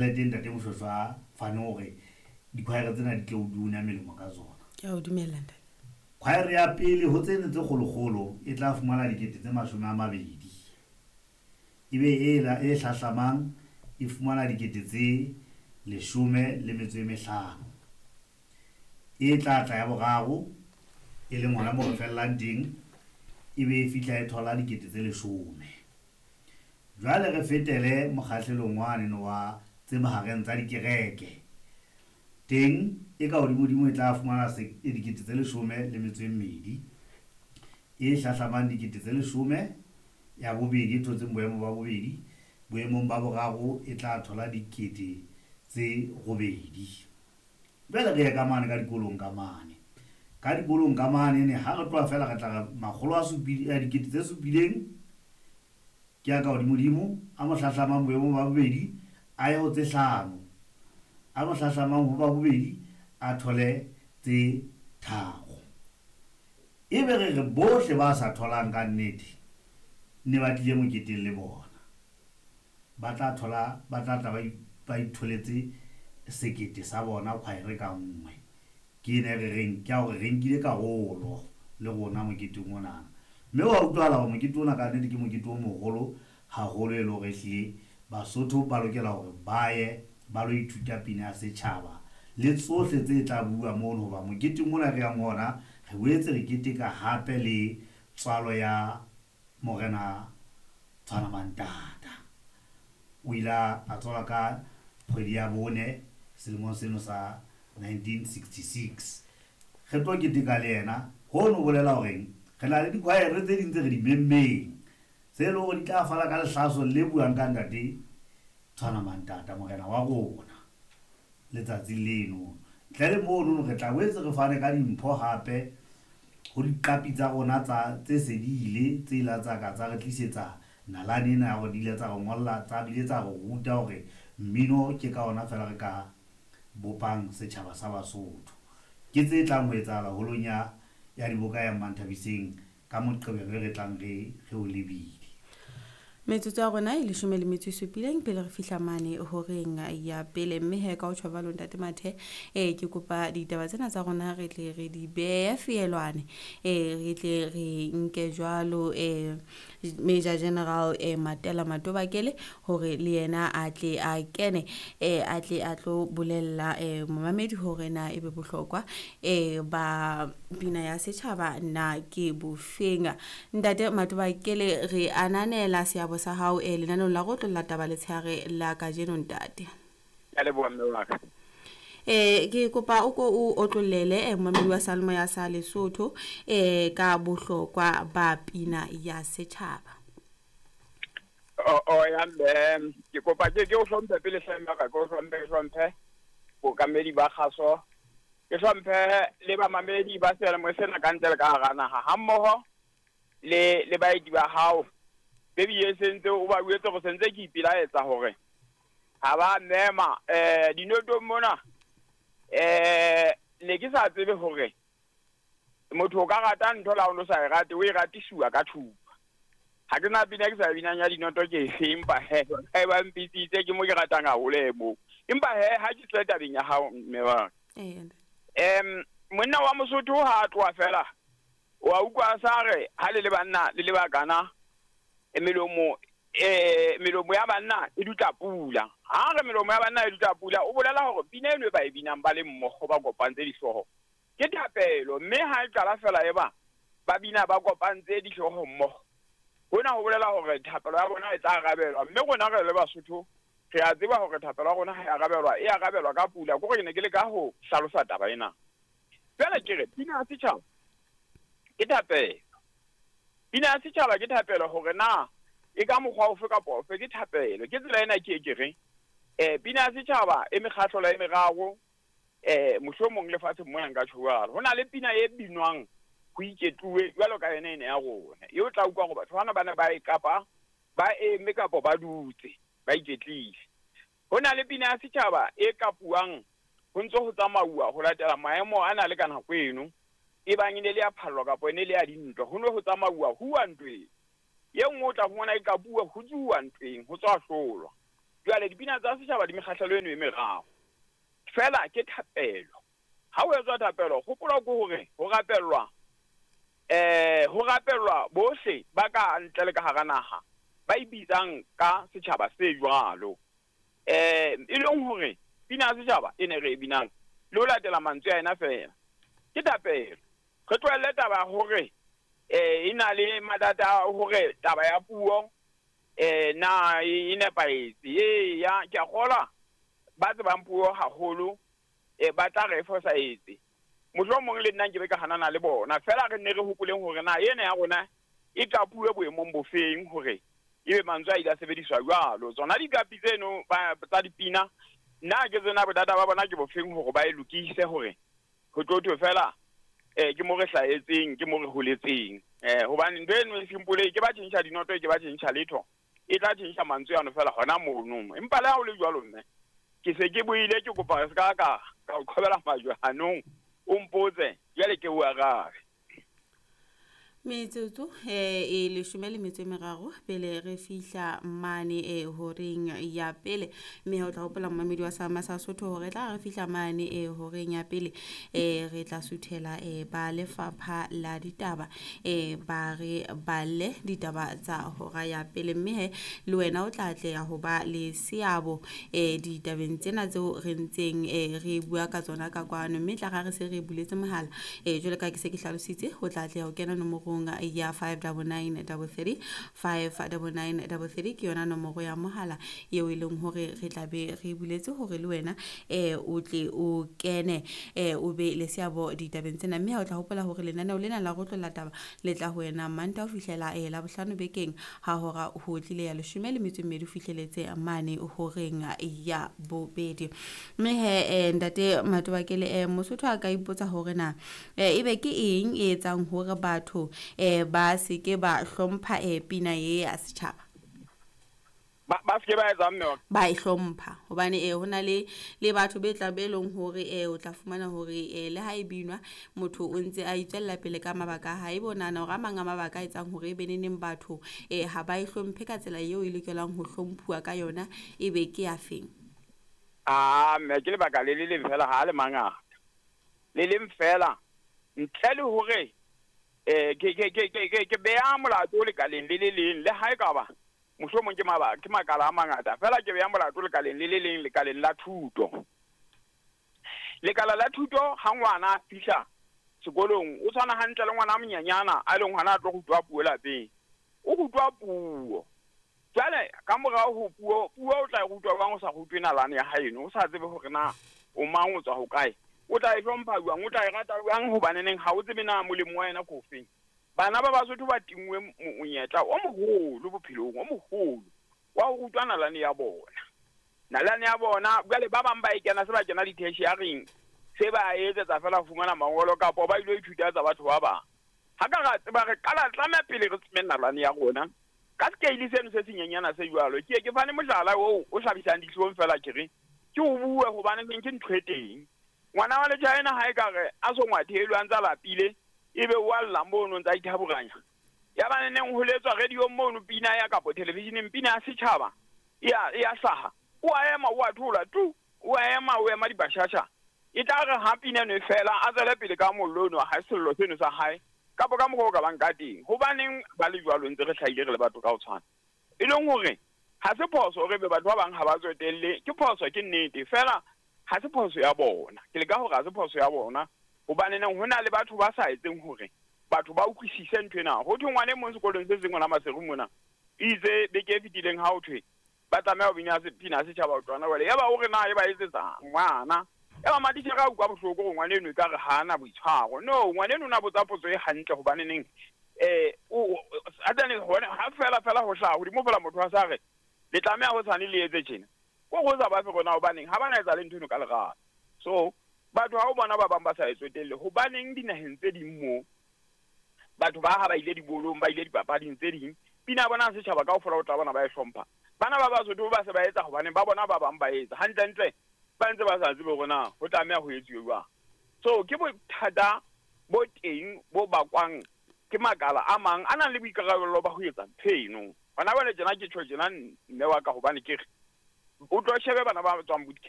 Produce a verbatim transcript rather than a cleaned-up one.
Tjhelete ntate Moshweshwe a fane hore dikhwaere tsena di tle o duna melemo ka tsona. Ke a o dumela ntate. Khwaere ya pele ho tsene tse kgolokgolo e tla fumana dikete tse mashome a mabedi. Ebe e la e hlahlamang e fumana dikete tse leshome le metso e mehlano. E tla tla ya boraro e leng hona moo re fellang teng, ebe e fihla e thola dikete tse leshome. Jwale re fetele mokgahlelong wane wa tse mahareng tsa dikereke. Teng e ka hodimodimo e tla fumana dikete tse leshome le metso e mmedi. E hlahlamang dikete tse leshome, ya bobedi e thotseng boemo ba bobedi, boemong ba boraro e tla thola dikete tse robedi. Jwale re ye ka mane ka dikolong ka mane. Ka dikolong ka mane ne ha re tloha fela re tla re makgolo a supileng, a dikete tse supileng ke ya ka hodimodimo, a mo hlahlamang boemong ba bobedi a ye ho tse hlano, a mo hlahlamang ho ba bobedi a thole tse tharo. Ebe re re bohle ba sa tholang ka nnete ne ba tlile moketeng le bona, ba tla thola, ba tla tla ba itholetse sekete sa bona khwaere ka nngwe. Ke ena e re reng ke ya hore re nkile karolo le rona moketeng onana. Mme wa utlwahala hore mokete ona ka nnete ke mokete o moholo haholo, e le hore ehlile Basotho ba lokela hore ba ye ba lo ithuta pina ya setjhaba le tsohle tse tla bua mono, hoba moketeng ona re yang ho ona re boetse re keteka hape le tswalo ya Morena Tshwana Mantata. O ile a tswalwa ka kgwedi ya bone selemong seno sa nineteen sixty-six. Re tlo keteka le yena. Hono ho bolela horeng re na le dikhwaere tse ding tse re di memmeng tse leng hore di tla fana ka lehlaso le buang ka ntate Tshwana Mantata, morena wa rona, letsatsi leno. Ntle le mono re tla boetse re fane ka dimpho hape ho diqapi tsa rona tsa tse se di ile, tse ila tsa ka tsa re tlisetsa nalane ena ya hore di ile tsa re ngolla, tsa bile tsa re ruta hore mmino ke ka ona fela re ka bopang setjhaba sa Basotho. Ke tse tlang ho etsahala holong ya ya diboka ya Mmanthabiseng ka Moqebelo e re tlang re re o lebile. Metsotso ya rona e leshome le metso e supileng pele re fihla mane horeng ya pele, mme he ka ho tjho jwalo ntate Mathe, eh ke kopa ditaba tsena tsa rona re tle re di behe feelwane, eh re tle re nke jwalo eh Major General eh Matela Matobakele hore le yena a tle a kene, eh a tle a tlo bolella eh momamedi hore na ebe bohlokwa eh ba pina ya setjhaba na ke bofeng. Ntate Matobakele, re ananela seabo sa hao eh lenaneong la go tlolla taba letshehare la kajeno ntate. Ke a leboha mme wa ka. Eh ke kopa o ko o otlollele eh momamedi wa Salmo ya sa Lesotho eh ka bohlokwa ba pina ya setjhaba. O o ya mme, ke kopa ke ke o hlomphe pele hle mme wa ka, ke o hlomphe, ke hlomphe bookamedi ba kgaso, ke hlomphe le bamamedi ba seyalemoya sena ka ntle le ka hara naha, hammoho le le baeti ba hao. Baby e sentse o ba buetse go sentse ke ipelaetsa hore ha ba mema eh dinotong mona, eh ne ke sa tsebe hore motho o ka rata ntho la o no sa e rate, o e ratisiwa ka thupa. Ha ke na pina ke sa binang ya dinoto ke efe, empa he ha ba mpitsitse ke mo ke ratang haholo e moo. Empa he ha ke tle tabeng ya hao mme wa. Eh, Em monna wa Mosotho ha a tloha fela, wa utlwa sa re ha le le banna le le bakana, e melomo, eh, melomo ya banna e dutla pula. Ha re melomo ya banna e dutla pula, o bolela hore pina eno e ba e binang ba le mmoho ba kopantse dihlooho ke thapelo, mme ha e qala fela e ba ba bina ba kopantse dihlooho mmoho, hona ho bolela hore thapelo ya bona e tla arabelwa. Mme rona re le Basotho re a tseba hore thapelo ya rona ha e arabelwa, e arabelwa ka pula. Ke hore ke ne ke leka ho hlalosa taba ena. Jwale ke re pina ya setjhaba ke thapelo. Pina ya setjhaba ke thapelo, hore na e ka mokgwa ofe kapa ofe ke thapelo. Ke tsela ena ke e ke reng, eh, pina ya setjhaba e mekgahlelo e meraro, eh, mohlomong lefatsheng mona nka tjho jwalo. Ho na le pina e binwang ho iketluwe jwalo ka yona ena ya rona, eo o tla utlwa hore batho bana ba ne ba e kapa ba eme kapa ba dutse ba iketlile. Ho na le pina ya setjhaba e kapuwang ho ntso ho tsamauwa ho latela maemo a na le ka nako eno, e bang e ne le ya phallwa kapa e ne le ya dintwa, ho ne ho tsamauwa huwa ntweng. E nngwe o tla fumana e kapuwa ho tsuwa ntweng, ho tswa hlolwa. Jwale dipina tsa setjhaba di mekgahlelo eno e meraro. Fela ke thapelo. Ha o etswa thapelo, hopola ke hore ho rapellwa eh ho rapellwa bohle ba ka ntle le ka hara naha ba ibitsang ka setjhaba se jwalo. Eh e leng hore pina ya setjhaba e ne re e binang le ho latela mantswe a ena fela. Ke thapelo. Re tlohelle taba ya hore eh e na le mathata a hore taba ya puo eh na e nepahetse. E ya ke a kgolwa ba tsebang puo haholo eh ba tla re fosahetse. Mohlomong le nna nke be ka hanana le bona. Fela re nne re hopoleng hore na ena ya rona e qapuwe boemong bofeng hore ebe mantswe a ile a sebediswa jwalo. Tsona diqapi tseno ba tsa dipina nna ke tsena bothata ba bona ke bofeng hore ba e lokise hore ho tlo thwe fela eh ke mo re hlahetseng, ke mo re holetseng. Eh hobane ntho eno e simple, ke ba tjhentjha dinoto, ke ba tjhentjha letho, e tla tjhentjha mantswe ano fela hona mono. Empa le ha ho le jwalo mme ke se ke buile, ke kopa se ka ka ka o qhobela majwe hanong, o mpotse jwale ke o arabe. Metsotso eh e leshome le metso e meraro pele re fihla mane e horeng ya pele, mme o tla hopola mmamedi wa Sama sa Sotho hore tla re fihla mane e horeng ya pele eh re tla suthela eh ba lefapha la ditaba eh ba re balle ditaba tsa hora ya pele, mme he le wena o tla atleha ho ba le seabo eh ditabeng tsena tseo re ntseng eh re bua ka tsona ka kwano, mme tla re se re buletse mohala eh jwalo ka ke se ke hlalositse, o tla atleha ho kena nomoro ya five double nine double three, five double nine double three ke yona nomoro ya mohala eo e leng hore re tla be re buletse hore le wena eh o tle o kene eh o be le seabo ditabeng tsena. Mme ha o tla hopola hore lenaneo lena la Rotlolla Taba le tla ho wena Mantaha ho fihlela eh la bohlano bekeng ha hora ho tlile ya leshome le metso e mmedi ho fihleletse mane horeng ya bobedi. Mme he eh, ntate Matobakele eh Mosotho a ka ipotsa hore na eh ebe ke eng e etsang hore batho eh ba se ke ba hlompha eh pina ye ya setjhaba? Ba ba se ke ba etsa mme wa ba e hlompha hobane eh hona le le batho be tla be leng hore eh o tla fumana hore eh le ha e binwa motho o ntse a itswella pele ka mabaka a hae, bonana hore a mang a mabaka a etsang hore e be neneng batho eh ha ba e hlomphe ka tsela eo e lokelang ho hlomphuwa ka yona, e be ke ya feng? Ah mme ke lebaka le le leng fela, ha le mangata le leng fela ntle le hore eh ke ke ke ke ke beha molato lekaleng le le leng, le ha e ka ba mohlomong ke mabaka ke makala a mangata fela, ke beha molato lekaleng le le leng, lekaleng la thuto. Lekala la thuto ha ngwana a fihla sekolong o tshwana hantle le ngwana a monyenyana a leng hona a tlo rutwa puo lapeng, o rutwa puo. Jwale ka morao ho puo, puo o tla e rutwa jwang o sa rutwe nalane ya haeno, o sa tsebe hore na o mang, o tswa hokae, o tla e hlompha jwang, o tla e rata jwang, hobaneneng ha o tsebe na molemo wa yena ke ofeng. Bana ba Basotho ba tinngwe monyetla o moholo bophelong, o moholo wa ho rutwa nalane ya bona. Nalane ya bona jwale ba bang ba e kena se ba kena di-tertiaring, se ba etsetsa fela ho fumana mangolo kapa ba ilo ithuta tsa batho ba bang. Ha ka ra tseba re qala tlameha pele re tsebe nalane ya rona ka scale seno se senyenyana se jwalo. Ke ke fane mohlala oo o hlabisang dihlong fela, ke re ke o bue hobane ke ntho e teng. Ngwana wa Lechina ha e ka re a so ngwathelwe a ntse a lapile, ebe o a lla mono ntse a ithaburanya. Ya ba neneng ho letswa radio mono pina ya kapo televisioneng pina ya setjhaba e a e a hlaha, o a ema o a thola tu, o a ema o ema dibashasha. E tla re ha pina eno e fela a tswele pele ka mollo ono ha sello seno sa hae kapo ka mokgwa o ka bang ka teng. Hobaneng ba le jwalo ntse re hlahile re le batho ka ho tshwana? E leng hore ha se phoso hore be batho ba bang ha ba tsotelle, ke phoso ke nnete fela, ha se phoso ya bona. Ke leka hore ha se phoso ya bona hobane neng ho na le batho ba sa etseng hore batho ba utlwisise ntho ena. Ho thwe ngwana e mong sekolong se seng hona Maseru mona itse beke e fetileng ha ho thwe ba tlameha ho bina pina setjhaba ho tloha jwale, yaba o re na e ba etsetsa ngwana, yaba matitjhere a utlwa bohloko hore ngwana eno ekare ha ana boitshwaro. No, ngwana eno o na botsa potso e hantle hobane neng eh o atane hone ha fela fela ho hlaha hodimo fela motho a sa re le tlameha ho tshwane le etse tjena, ko go sa ba fe rona hobaneng ha bana etsa le ntho eno ka lerato. So batho ha o bona ba bang ba sa e tsotelle, hobaneng dinaheng tse ding moo batho ba ha ba ile dibolong, ba ile dipapading tse ding, pina bona setjhaba kaofela o tla bona ba e hlompha. Bana ba Basotho ba se ba etsa hobaneng ba bona ba bang ba etsa hantlentle, ba ntse ba sa tsebe hore na ho tlameha ho etsuwe jwang. So ke bothata bo teng bo bakwang ke makala a mang a nang le boikarabelo ba ho etsa ntho eno. Hona jwale tjena ke tjho tjena mme wa ka hobane ke re O tlo shebe bana ba tswang boot camp.